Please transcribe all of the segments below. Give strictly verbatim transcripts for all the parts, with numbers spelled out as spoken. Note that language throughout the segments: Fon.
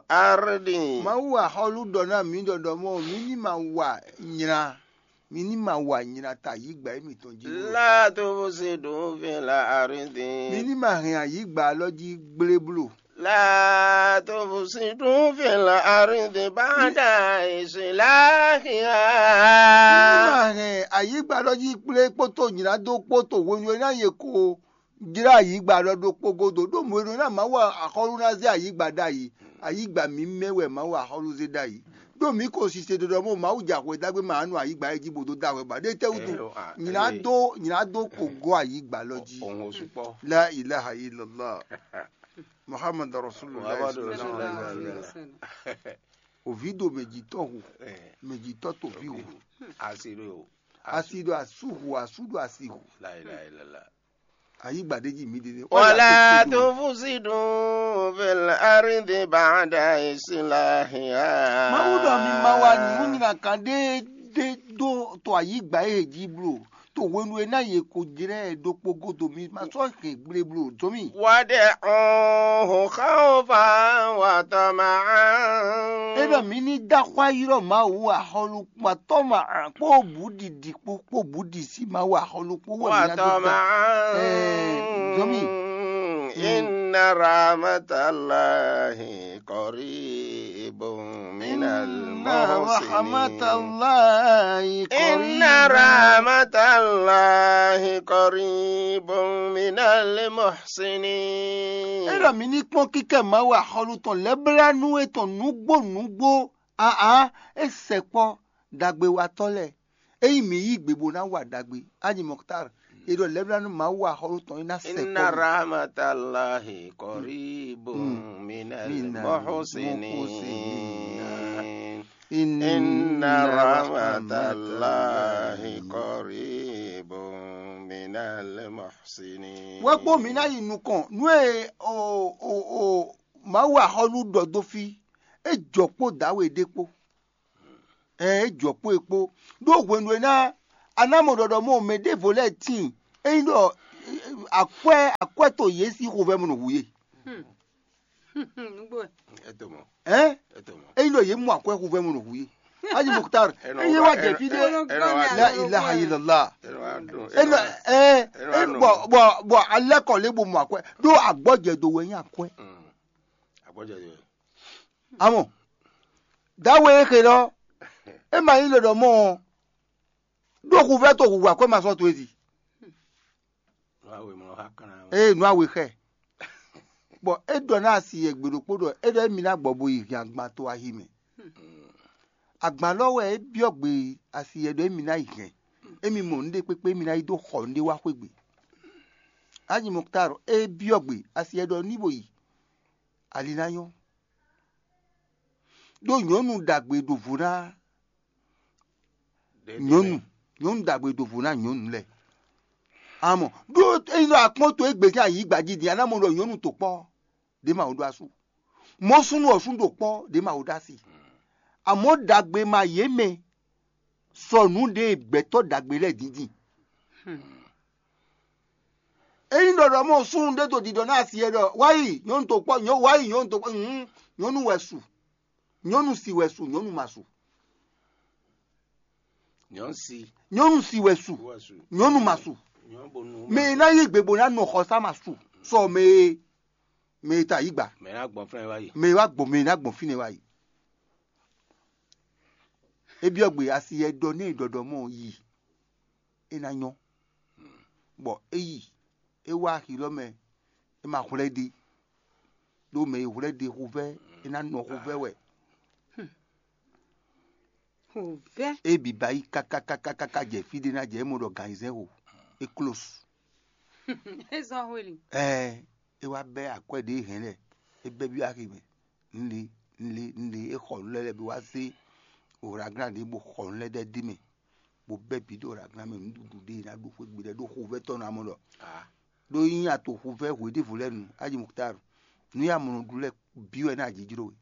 ardi. Mawu axɔ́lú ɖɔ ná mǐ ɖɔɖɔ mɔ mǐ ní ma wa nyra, mǐ ní ma wa nyra ta yǐgbɛ émítɔn jí. La tufsidu fil ardi. Mǐ ní ma hɛn ayǐgba alɔ jí gblé bló. La tufsidu fil ardi ba'da islahiha. Mǐ ní ma hɛn ayǐgba alɔ jí kplé kpótó nyra dó kpótó hwenu e ná yě ko jlá ayǐgba alɔ ɖokpó gúdo, ɖó mɔ̌ e ɖó ná Mawu axɔ́lú ná zé ayǐgba ɖ'ayǐ. Ayǐgba mǐmɛ́ wɛ Mawu axɔ́lú zé ɖ'ayǐ. Ɖó mǐ ko sise ɖɔɖɔ mɔ Mawu jɛ axwe ɖagbe ma nɔ ayǐgba e jí bó dó da hwɛ ba ɖé tɛ́ wútu? Nyina dó nyina dó ko gɔ́ ayǐgba lɔ jí. Òun ò sukpɔ́. La ilaha illallah. Muhammad Rasulullah. Muhammad Rasulullah. Òví ɖo mɛjitɔ́ hu, mɛjitɔ́ to ví hu. Asi ɖo. Asi ɖo asu hu, asu ɖo asi hu. La ilaha illallah. Ayǐgba ɖé jí mǐ ɖe. Wala tufsidu fil ardi ba'da islahiha. Mawu ɖɔ mi ma wa nǔnywɛ́kan ɖé ɖé dó to ayǐgba e jí bló, to hwenu e ná yě ko jlɛ́ ɛ ɖokpó gúdo mi ma sɔ́ hɛn gble bló dó mì. Wad'uhu khawfan wa tama'an. É ɖɔ mǐ ní dó axwá ylɔ́ Mawu axɔ́lú kpatɔ́ ma kpó bǔ ɖiɖi kpó kpó bǔ ɖi sí Mawu axɔ́lú kpó wɛ mǐ ná dó da. Watɔma'an. Ɛɛ, zɔmì. Inna rahmatallahi qaribun minal muhsinin. Rahmatallahi qaribun. Inna rahmatallahi qaribun minal muhsinin. É ɖɔ mǐ ní kpɔ́n kíkɛ Mawu axɔ́lú tɔn lɛ́blánú étɔn nǔgbó nǔgbó. Aa, é sɛkpɔ́ ɖagbewatɔ́ lɛ́ɛ. Ényí mǐ yí gbe bó ná wa ɖagbe, Aji Mɔktar, è ɖɔ lɛ́blánú Mawu axɔ́lú tɔn é ná sɛkpɔ́. Inna rahmatallahi qaribun minal muhsinin. Inna rahmatallahi qaribun minal muhsinin. Wɛ kpó mǐ ná yi nukɔn nú e o o o Mawu axɔ́lú ɖɔ dó fí, é jɔ kpó dǎwe ɖé kpó. Ɛɛ, é jɔ kpó e kpó. Ɖó hwenu e ná a ná mɔ ɖɔɖɔ mɔ mɛ ɖěvo lɛ́ɛ tíin, ényí ɖɔ akwɛ́ akwɛ́ to yě sín xovɛ́ mɔ nɔ hu yě. Nǔgbó wɛ. Ɛtɔmɔ. Ɛn? Ɛtɔmɔ. Ényí ɖɔ yě mɔ akwɛ́ xovɛ́ mɔ nɔ hu yé. Aji Muktar, ényí wá jɛ fí ɖé. La ilaha illallah. Ena ɛ ɛ bɔ bɔ bɔ alɛ kɔ lé bo mɔ akwɛ ɖó agbɔjɛ do wɛ nyí akwɛ. Agbɔjɛ do wɛ. Amɔ dawe e xe lɔ, e ma nyí ɖɔɖɔ mɔ ɔ, ɖó xuvɛ to huhu akwɛ ma sɔ to ezi. Ee, nǔ awe xɛ. Bɔ é ɖɔ ná asi yɛ gbe ɖokpó ɖɔ é ɖɔ émi ná gbɔ bo yi hɛn agban to ahi mɛ. Agban lɔ wɛ é byɔ́ gbe asi yɛ ɖɔ émi ná yi hɛn. Émi mɔ nǔɖé kpékpé émi ná yi dó xɔ nǔɖé wá xwé gbe. Aji Muktar é byɔ́ gbe asi yɛ ɖɔ ní bo yi. Ali ná nyɔ́. Ɖó nyɔ̌nu ɖagbe ɖo vo ná nyɔ̌nu, nyɔ̌nu ɖagbe ɖo vo ná nyɔ̌nu lɛ́ɛ. Amɔ ɖó ényí ɖɔ akpɔ́n to égbé sín ayǐgba jí din, a ná mɔ ɖɔ nyɔ̌nu to kpɔ́ ɖě ma wo ɖó asú. Mɔ̌ súnnu ɔ́ súnnu ɖo kpɔ́ ɖě ma wo ɖó asi. Amɔ̌ ɖagbe ma yě mɛ sɔ nǔ ɖe gbɛ̌tɔ́ ɖagbe lɛ́ɛ dǐndín. Ényí ɖɔ ɖɔ mɔ súnnu ɖé to ɖiɖɔ ná asi e ɖɔ wá yi nyɔ̌nu to kpɔ́, nyɔ̌ wá yi nyɔ̌nu to kpɔ́, hǔn nyɔ̌nu wɛ su, nyɔ̌nu si wɛ su, nyɔ̌nu ma su. Nyɔ̌nu si. Nyɔ̌nu si wɛ su, wɛ su. Nyɔ̌nu ma su. Nyɔ̌nu bonu. Mɛ e ná yí gbe bó ná nɔ xɔsá ma su sɔ mɛ e mɛ e ta yí gba. Mɛ e ná gbɔn fínɛ́ wá yi. Mɛ e wá gbɔn mɛ e ná gbɔn fínɛ́ wá yi. É byɔ́ gbe asi e ɖɔ n'i ɖɔɖɔ mɔ yi, é ná nyɔ́. Bɔ é yi, é wá axi lɔ mɛ, é ma hwlɛ́ ɖi. Ɖó mɛ e hwlɛ́ ɖi xuvɛ́, é ná nɔ xuvɛ́ wɛ. Xuvɛ́. É biba yi kákákákáká jɛ fí ɖé ná jɛ é mɔ ɖɔ gan ayizɛ́n xo. É klósu. É zɔ́n hweli. Ɛɛ, é wá bɛ́ akwɛ́ ɖě hɛn lɛ́ɛ, é bɛ́ byɔ́ axi mɛ. Nle nle nle é xɔ nǔ lɛ́ɛ lɛ́ɛ bó wá zé oraglán ɖě bó xɔ nǔ lɛ́ɛ ɖɛ́ dó mɛ, bó bɛ́ bǐ ɖo oraglán mɛ nǔɖuɖu ɖé ná ɖu xwé gbe lɛ́ɛ ɖó xovɛ́ tɔn ná mɔ ɖɔ. Ɖó nyí ato xovɛ́ hwe ɖěvo lɛ́ɛ nu aji Muktar, nǔ e amɔ nɔ ɖu lɛ́ɛ bǐ wɛ ná jǐjló we.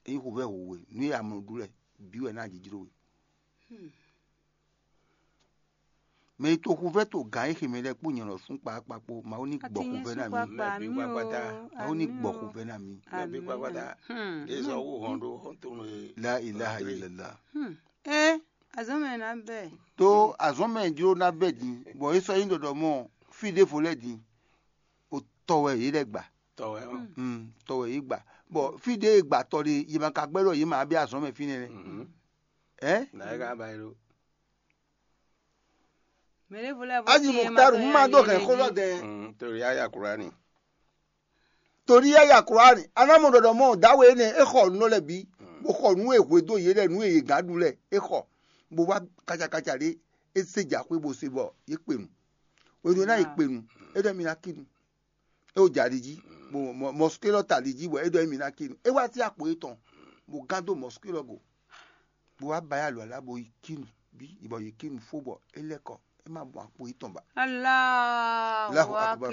Ényí xovɛ́ hu we, nǔ e amɔ nɔ ɖu lɛ́ɛ bǐ wɛ ná jǐjló we. Mɛ e to xuvɛ́ to gǎn e ximɛ lɛ́ɛ kpó nyɛ lɔ sún kpakpa kpó, Mawu ní gbɔ xuvɛ́ ná mì. Mawu ní gbɔ xuvɛ́ ná mì. Nabí kpakpata. Ɖé zɔ wú hɔn ɖó hɔn tó nɔ e. La ilaha illallah. Ɛ azɔn mɛ ná bɛ. Tó azɔn mɛ jló ná bɛ din, bɔ é sɔ́ nyí ɖɔɖɔ mɔ fí ɖěvo lɛ́ɛ din, o tɔ wɛ yě lɛ́ gbà. Tɔ wɛ ɔ́. Mm, tɔ wɛ yě gbà. Bɔ fí ɖě e gbà tɔ ɖe, yě ma ka gbɛ́ ɖɔ yé ma bí azɔn mɛ fínɛ́ nɛ́. Ɛ? Nǎ é ka ba é ɖó. Mɛ ɖěvo lɛ́ɛ bó Aji Muktar, un ma ɖó hɛn xó lɔ dɛn. Mm, torí ayé akura ni. Torí yá ya Kurani, anámɔ ɖɔɖɔ mɔ dǎwe énɛ́ é xɔ nǔ lɛ́ɛ bǐ, bó xɔ nǔ e hwedó yě lɛ́ɛ, nǔ e yě gǎn ɖu lɛ́ɛ é xɔ, bó wá kacakaca ɖé, é zé jǎxwé bó se bɔ yě kpe nu. Hwenu e ná yě kpe nu, é ɖɔ mi ná kí nu. É wo jɛ ali jí, bó mɔsukélɔ ta ali jí bɔ é ɖɔ émí ná kí nu. É wá sí akpo étɔn, bó gán dó mɔsukélɔ go, bó wá ba yá alɔ alá bó yi kí nu bí bɔ yě kí nu fó bɔ é lɛ́ kɔ, é má mɔ akpo étɔn ba. Allahu akbar.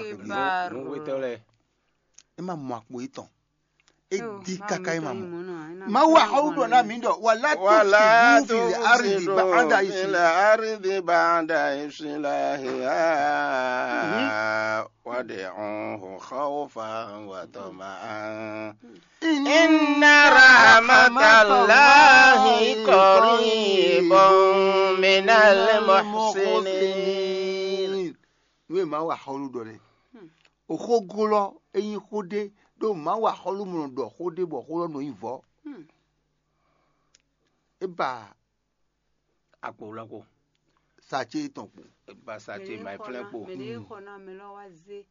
Nǔwétɔ́ lɛ́ɛ. É má mɔ akpo étɔn. É di káká é má mɔ. Mawu axɔ́ ɖɔ ná mǐ ɖɔ wala ولا tufsidu fil ardi تفسدوا ba'da في islih. الأرض بعد إصلاحها وادعوه خوفا وطمعا إن رحمة الله قريب من المحسنين. Nú e Mawu axɔ́lú ɖɔ lɛ́ɛ. Oxógó lɔ é nyí xó ɖé ɖó Mawu axɔ́lú mɔ ɖɔ xó ɖé bɔ xó lɔ nɔ nyí vɔ̌. É ba Akpo lɔ kpo. Sace tɔn kpo. Ba sa ce ma flɛ́ kpo. Mɛ ɖé xɔ ná mɛ lɔ wá zé.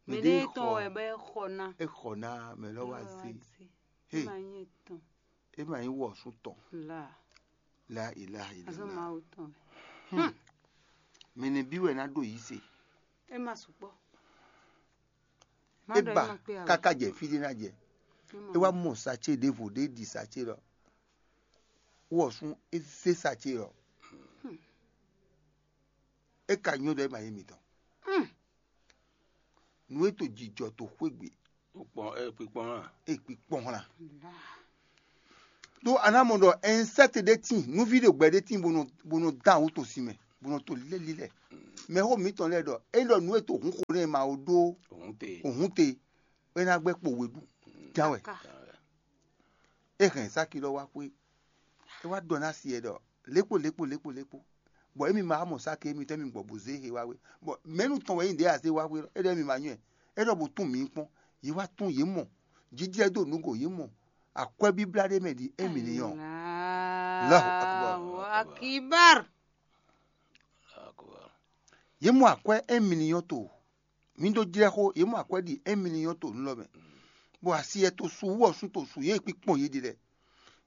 Mɛ Mɛ ɖé ɖé tɔn xɔ. Wɛ bɛ xɔ ná. É xɔ ná mɛ lɔ wá zé. Ɛ ma nyɛ tɔn. É ma nyí wɔ̌sún tɔn. La. La ilaha Azɔ illallah. Mawu tɔn wɛ. Mɛ nɛ bí wɛ ná ɖo yí se. Ɛ ma sukpɔ. É ba káká jɛ fí ɖé ná jɛ. É wá mɔ Sace ɖěvo ɖé ɖi Sace lɔ. Wɔ̌sún é zé Sace lɔ. É ka nyɔ́ ɖɔ é ma nyí mitɔn. Nǔ e to jijɔ to xwé gbe Kpikpɔn ɛ kpikpɔn hã. é kpikpɔn hlan. Ɖó a ná mɔ ɖɔ ɛnsɛ́ti ɖé tíin, nǔví ɖo gbɛ ɖé tíin bó nɔ bó nɔ dán awú to sin mɛ, bó nɔ to lɛ́ lílɛ́. Mɛxó mǐtɔn lɛ́ɛ ɖɔ é ɖɔ nǔ e to hǔn xo nɛ́ ma ó ɖó Òun te. Òhun te, é ná gbɛ́ kpo we ɖu ján wɛ. É hɛn sáki lɔ wá xwé, é wá ɖɔ ná si ɛ ɖɔ lékpo lékpo lékpo lékpo, bɔ émi ma wá mɔ sáki émi tɛ́ mi gbɔ bó zé he wá wé, bɔ mɛ̌nu tɔn wɛ nyí ɖě a zé wá wé lɔ, é ɖɔ émi ma nyɔ́ ɛ, é ɖɔ bó tún mǐ kpɔ́n, yě wá tún yě mɔ, jijlɛ́ dó nǔ go yě mɔ, akwɛ́ bíblá ɖé mɛ ɖi émi ní nyɔ́. Allahu akbar. Allahu akbar. Yě mɔ akwɛ́ émi ní nyɔ́ to, mǐ ɖó jlɛ́ xó, yě mɔ akwɛ́ ɖi émi ní nyɔ́ to nú lɔ mɛ, bɔ asi ɛ to su wú ɔ́ sú to su yě kpikpɔn yě ɖi lɛ.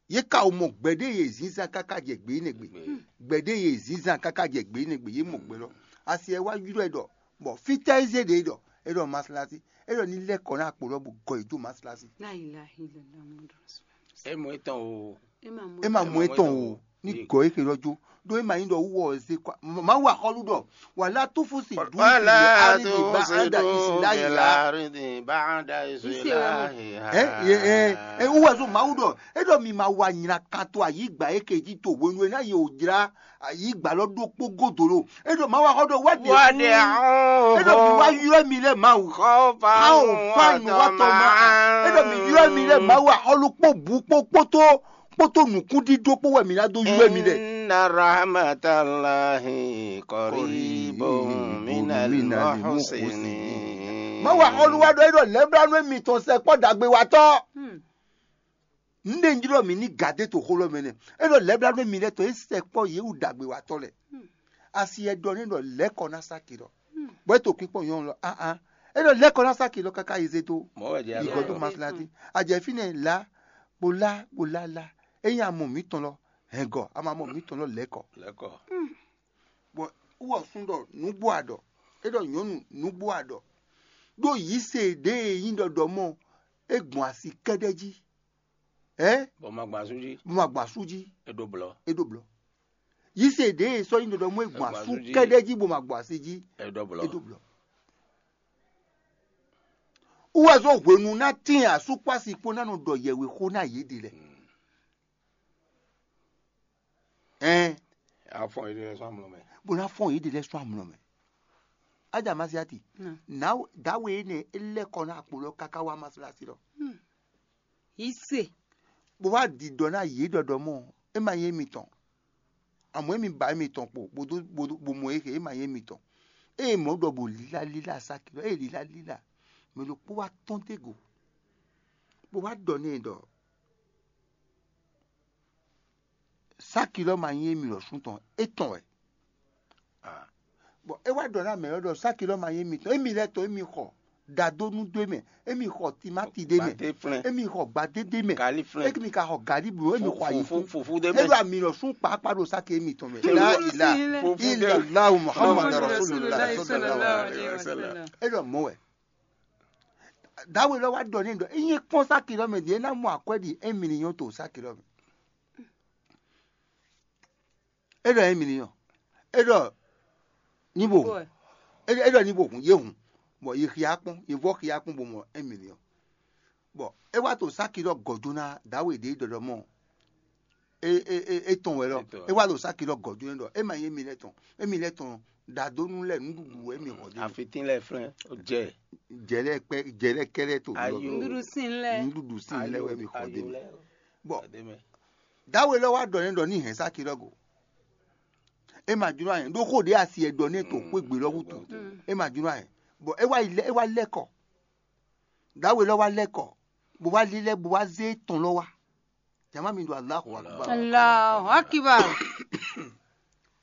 Yě ka wo mɔ gbɛ̌ ɖé yě zínzán káká jɛ gbě énɛ́ gbe. Gbɛ̌ ɖé yě zínzán káká jɛ gbě énɛ́ gbe, yě mɔ gbɛ lɔ. Asi ɛ wá ylɔ́ ɛ ɖɔ, bɔ fítɛ́ é zé ɖě ɖɔ, é ɖɔ maslasi, é ɖɔ ní lɛ́ kɔ ná akpo lɔ bó gɔ yě dó maslasi. La ilaha illallah Muhammadu Rasulullah. É mɔ étɔn o. É ma mɔ. É ma mɔ étɔn o, ní gɔ é xelɔ jó, ɖó é ma nyí ɖɔ wú wɔ ɔ zé kɔ. Mawu axɔ́lú ɖɔ, wala tufusidu fil ولا ardi ba'da تفسدوا في islahiha. الأرض بعد إصلاحها. Ɛ yɛ ɛ ɛ wú wɛ zó Mawu ɖɔ, é ɖɔ mi ma wa nyina kan to ayǐgba é ke jí to hwenu e ná yě wò jlá ayǐgba lɔ ɖokpó godo lo. É ɖɔ Mawu axɔ́ ɖɔ wá ɖe. É ɖɔ mi wá وادعوه ylɔ́ mi lɛ Mawu. خوفا Xawo fánu wá tɔn ma. É ɖɔ mi ylɔ́ mi lɛ وطمعا Mawu axɔ́lú kpó bǔ kpó kpótó kpótó nǔkúndídó kpó wɛ mi ná dó ylɔ́ mi lɛ. إن رحمة الله قريب من المحسنين. Mawu axɔ́lú wá ɖɔ é ɖɔ lɛ̌blánú mitɔn sɛkpɔ́ ɖagbe wa tɔ́. Nɖe ń jlɔ́ mǐ ní gǎdé to xó lɔ mɛ nɛ́. É ɖɔ lɛ̌blánú mi lɛ́ tɔn é sɛkpɔ́ yě wú ɖagbe wa tɔ́ lɛ́ɛ. Asi ɛ ɖɔ n'i ɖɔ lɛ̌ kɔ ná sáki lɔ. Bɔ é to kpíkpɔ́n nyɔ̌nu lɔ áhán. É ɖɔ lɛ̌ kɔ ná sáki lɔ káká yi zé dó. Mɔ̌ wɛ jɛ Yi gɔ̌ dó maslati. A jɛ fínɛ́ lá, bó lá, bó lá lá. É nyí amɔ mǐtɔn lɔ, hɛn gɔ, a ma mɔ mǐtɔn lɔ lɛ̌ kɔ. Lɛkɔ. Bɔ wú ɔ sún ɖɔ nǔgbó a ɖɔ. É ɖɔ nyɔ̌nu nǔgbó a ɖɔ. Ɖó yǐ se ɖě e nyí ɖɔɖɔ mɔ, é gbɔn asi kɛ́ɖɛ́ jí. Ɛ Bɔ ma gbɔn asú jí. Bó ma gbɔn asú jí, É ɖó blɔ. é ɖó blɔ. Yí se ɖě e sɔ́ nyí ɖɔɖɔ mɔ é gbɔn Gbɔn asú asú jí. Kɛ́ɖɛ́ jí bó ma gbɔn asi jí, É ɖó blɔ. é ɖó blɔ. Wú wɛ zɔ́n hwenu ná tín asú kpó asi kpó ná nɔ ɖɔ yɛwexó ná yě ɖe lɛ. Ɛn, A fɔn yěɖée lɛ́ɛ sɔ́ amlɔ mɛ. Bó ná fɔn yěɖée lɛ́ɛ sɔ́ amlɔ mɛ. Ájà Masiati, nǎ dǎwe énɛ́ é lɛ́ kɔ ná akpo lɔ káká wá Masalasi lɔ. Yí se. Bó wá ɖiɖɔ ná yě ɖɔɖɔ mɔ, é ma nyí émitɔn. Amɔ̌ émi ba émitɔn kpo, bó dó bó dó- bó mɔ é xe, é ma nyí émitɔn. Ée mɔ̌ ɖɔ bó lílá lílá sáki lɔ, ée lílá lílá, mɛ ɖokpó wá tɔ́n dó go, bó wá ɖɔ n'i ɖɔ sáki lɔ ma nyí émi lɔ sún tɔn, é tɔn wɛ. Bɔn é wá ɖɔ ná mɛ ɔ́ ɖɔ sáki lɔ ma nyí émi tɔn, émi lɛ́ tɔn émi xɔ ɖadónú dó mɛ, émi xɔ timáti ɖé mɛ, émi xɔ gbadé ɖé mɛ, émi ka xɔ galí bló, émi xɔ ayi fún. É ɖo ami lɔ sún kpákpá ɖo sáki émi tɔn mɛ. La ila ila lahu muhammadu rasulullah sallallahu alaihi wasallam. É ɖɔ mɔ̌ wɛ. Dǎwe lɔ wá ɖɔ n'i ɖɔ é nyí kpɔ́n sáki lɔ mɛ ɖi é ná mɔ akwɛ́ ɖi émi ní nyɔ́ to sáki lɔ mɛ. É ɖɔ émi ní nyɔ́. É ɖɔ ní bo hun. É ɖɔ ní bo hun, yě hun. Bɔ yě xia kpɔ́n, yě vɔ xia kpɔ́n bo mɔ émi ní nyɔ́. Bɔ é wá to sáki lɔ gɔ̌ jó ná dǎwe ɖě ɖɔɖɔ mɔ. É é é é tɔn wɛ lɔ. É wá ɖo sáki lɔ gɔ̌ jó nɛ́ ɖɔ é ma nyí émi lɛ́ɛ tɔn, émi lɛ́ɛ tɔn ɖadónú lɛ́ɛ nǔɖuɖu wɛ émi xɔ dó. Afitín lɛ́ɛ flɛ́n jɛ. Jɛ lɛ́ɛ kpɛ jɛ lɛ́ɛ kɛ́ lɛ́ɛ to. Ayo. Nǔɖuɖu sin lɛ́ɛ. Nǔɖuɖu sin lɛ́ɛ wɛ émi xɔ dó. Bɔ dǎwe lɔ wá ɖɔ nɛ́ ɖɔ ní hɛn sáki lɔ go. É ma jló anyɛ ɖó xó ɖě asi ɛ ɖɔ nɛ́ to xwé gbe lɔ wútu. É ma jló anyɛ. Bɔ é wá yi lɛ é wá lɛ́ kɔ. Dǎwe lɔ wá lɛ́ kɔ, bó wá lílɛ́ bó wá zé tɔn lɔ wá. Jama mi ɖo Allahu Akbar. Allahu Akbar.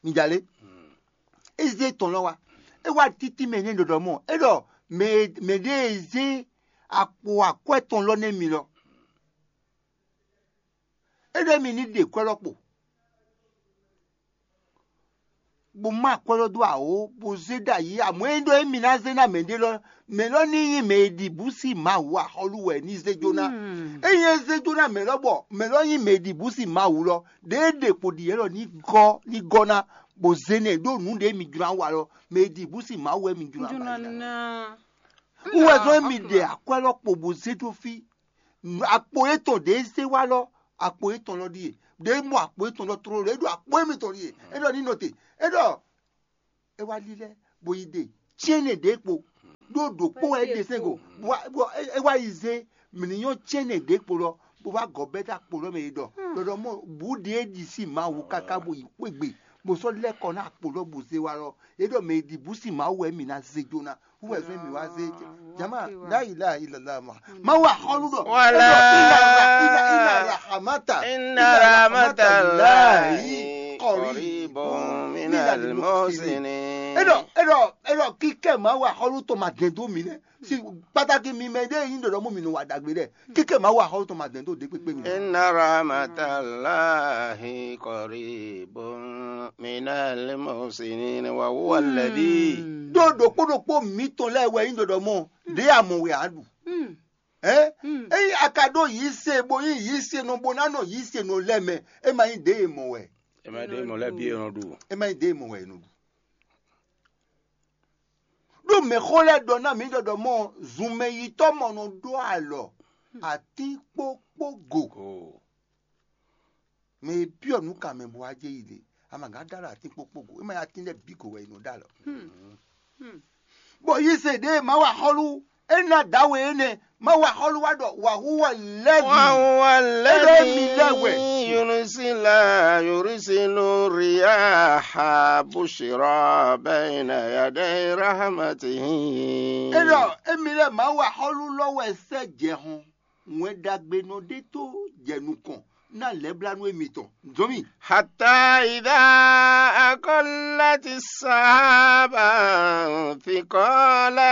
Mi jalé. É zé tɔn lɔ wá. É wá títí mɛ ní ɖɔɖɔ mɔ. É ɖɔ mɛ mɛ ɖé e zé akpo akwɛ́ tɔn lɔ nɛ́ mi lɔ. É ɖɔ mi ní ɖe kwɛ́ lɔ kpo. Bó má akwɛ́ lɔ dó awǒ, bó zé ɖ'ayǐ, amɔ̌ é ɖɔ émí ná zé ná mɛɖé lɔ, mɛ lɔ ní nyí mɛ e ɖi bǔ sí Mawu axɔ́lú wɛ ní zé jó ná. Ényí é zé jó ná mɛ lɔ bɔ mɛ lɔ nyí mɛ e ɖi bǔ sí Mawu lɔ, ɖěe ɖe kpo ɖi yě lɔ ní gɔ́ ní gɔ́ ná, bó zé nɛ ɖó nǔ ɖě mi jló ná wa lɔ, mɛ e ɖi bǔ sí Mawu wɛ mi jló ná ba yi ná. Wú wɛ zɔ́n émi ɖe akwɛ́ lɔ kpo bó zé dó fí. Akpo yětɔn ɖě zé wá lɔ, akpo yětɔn lɔ ɖíe. Ɖě mɔ akpo yětɔn lɔ tlóló, é ɖo akpo émítɔn ɖíe. É ɖɔ ní nɔ te. É ɖɔ é wá lílɛ́, bó yi ɖe cyɛ́nɛ ɖě kpo. Ɖó ɖǒkpó wɛ é ɖe sɛ́n go. Bó wá- bó- é- é wá yi zé mǐ ní nyɔ́ cyɛ́nɛ ɖě kpo lɔ, bó wá gɔ̌ bɛ́ dó akpo lɔ mɛ yi ɖɔ ɖɔɖɔ mɔ bǔ ɖě é ɖi sí Mawu káká bó yi xwé gbe, bó sɔ́ lɛ́ kɔ ná akpo lɔ bó zé wá lɔ. É ɖɔ mɛ e ɖi bǔ sí Mawu wɛ mǐ ná zé jó ná. Wúwɛ fún mi wá zé jama la ilaha illallah ma. Má wà xɔlú ɖɔ. Wala. Ina rahamata. Inna rahmatallahi qaribun minal muhsinin. Eɖɔ eɖɔ eɖɔ kíkẹ́ má wà xɔlú tó ma dɛn dó mi nɛ. Si pàtàkì mi mɛ ɖe yin ɖɔɖɔ mú mi nù wà dàgbé dɛ. Kíkẹ́ má wà xɔlú tó ma dɛn dó dé pépé mi. Inna rahmatallahi qaribun minal muhsinin wa huwa alladhi. Ɖó ɖokpó ɖokpó mǐtɔn lɛ́ɛ wɛ nyí ɖɔɖɔ mɔ ɖě a mɔ wɛ a ɖu. Ɛ eyi a ka ɖó yǐ se bo nyí yǐ se nɔ bo ná nɔ yǐ se nɔ lɛ́ mɛ, é ma nyí ɖě e mɔ wɛ. Ɛ ma ɖě mɔ lɛ́ bí e nɔ ɖu. É ma nyí ɖě e mɔ wɛ è nɔ ɖu. Ɖó mɛxó lɛ́ɛ ɖɔ ná mǐ ɖɔɖɔ mɔ zunmɛyitɔ́ mɔ nɔ ɖó alɔ atín kpókpó go. Mɛ e byɔ́ nǔ kan mɛ bɔ wá jɛ yi ɖe, ama gǎn dó alɔ atín kpókpó go, é ma nyí atín lɛ́ɛ bǐ go wɛ è nɔ dó alɔ. Bɔ yise ɖě ma wa xɔlu, é ná dǎwe énɛ́, ma wa xɔlu wá ɖɔ wǎ hu wɛ lɛ́ Wa huwa é ɖɔ émi lɛ́ wɛ. Alladhi yursila yursilu riyaha bushra bayna yaday rahmatihi. É ɖɔ émi lɛ́ ma wa xɔlu lɔ wɛ sɛ́ jɛ hɔn. Wɛn ɖagbe nɔ ɖe tó jɛ nukɔn ná lɛblanu émitɔn. Zɔn mi. Hatta idha aqallati sahaba thiqala.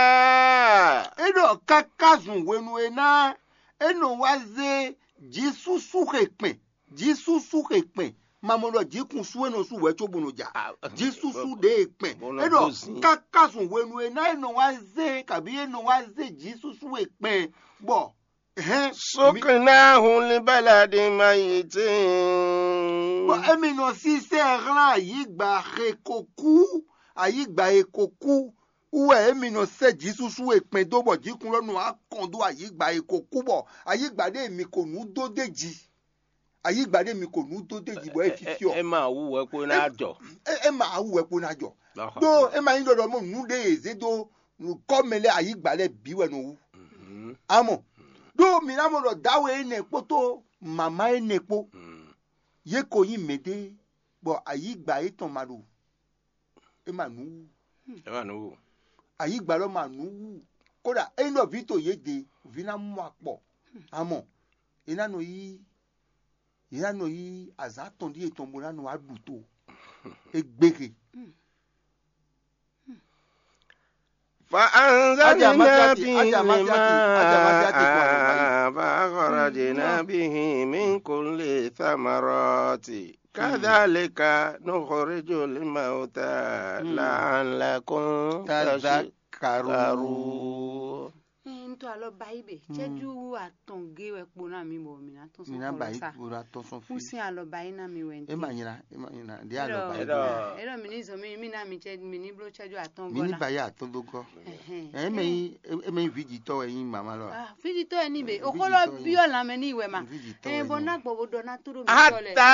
É ɖɔ káká zun hwenu e ná é nɔ wá zé jǐsúsú xe kpɛn, jǐsúsú xe kpɛn, mamɔ ɖɔ jǐkun sú é nɔ sú wɛ có bó nɔ ja. Jǐsúsú ɖe e kpɛn. É ɖɔ káká zun hwenu e ná é nɔ wá zé kabí é nɔ wá zé jǐsúsú e kpɛn bɔ hɛn Suknahu li baladin mayitin. Bɔ émi nɔ sísɛ hlán ayǐgba xe ko kú, ayǐgba e ko kú wú wɛ émi nɔ sɛ́ jǐsúsú e kpɛn dó bɔ jǐkun lɔ nɔ wá kɔn dó ayǐgba e ko kú bɔ ayǐgba ɖé mi ko nǔ dó d'é jí. Ayǐgba ɖé mi ko nǔ dó dé ji bɔ é fífí ɔ. É ma wú wɛ kó ná jɔ. É ma wú wɛ kó ná jɔ. Ɖó é ma nyí ɖɔɖɔ mɔ nǔ ɖé e zé dó nukɔmɛ lɛ́ɛ ayǐgba lɛ́ɛ bǐ wɛ nɔ wú. Amɔ ɖó mi ná mɔ ɖɔ dawe énɛ́ kpódó mama énɛ́ kpó, yě ko nyí mɛɖé bɔ ayǐgba yětɔn ma ɖo é ma nǔ wú. Ɛ ma nǔ wú. Ayǐgba lɔ ma nǔ wú. Kódà ényí ɖɔ vǐ to yě ɖe, vǐ ná mɔ akpɔ. Amɔ é ná nɔ yí é ná nɔ yí azǎn tɔn ɖíe tɔn bó ná nɔ wá ɖu to. É gbéhe. فأنزلنا به الماء فأخرجنا به من كل الثمرات كذلك نخرج الموتى لعلكم تذكرون. Ntɔ alɔ bayi be cɛju atɔn ge wɛ kpo na mi bɔ mi na tɔn sɔn kɔlɔ sa. Kúsin alɔ bayi na mi wɛ nti. Ema nyina, ema nyina. Di alɔ bayi. Elɔ mi ni zɔn mi mi na mi cɛ mi ni blo cɛju atɔn gɔ na. Mi ni bayi atɔn do gɔ. Eme yi eme yi vijitɔ wɛ yin mama lɔ. Vijitɔ yɛ ni be okolo biɔ lamɛ ni wɛ ma. Vijitɔ wɛ ni. Bɔ na gbɔ bo dɔ na to do mi tɔ lɛ. حتى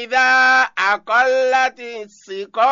إذا أقلت السقاء.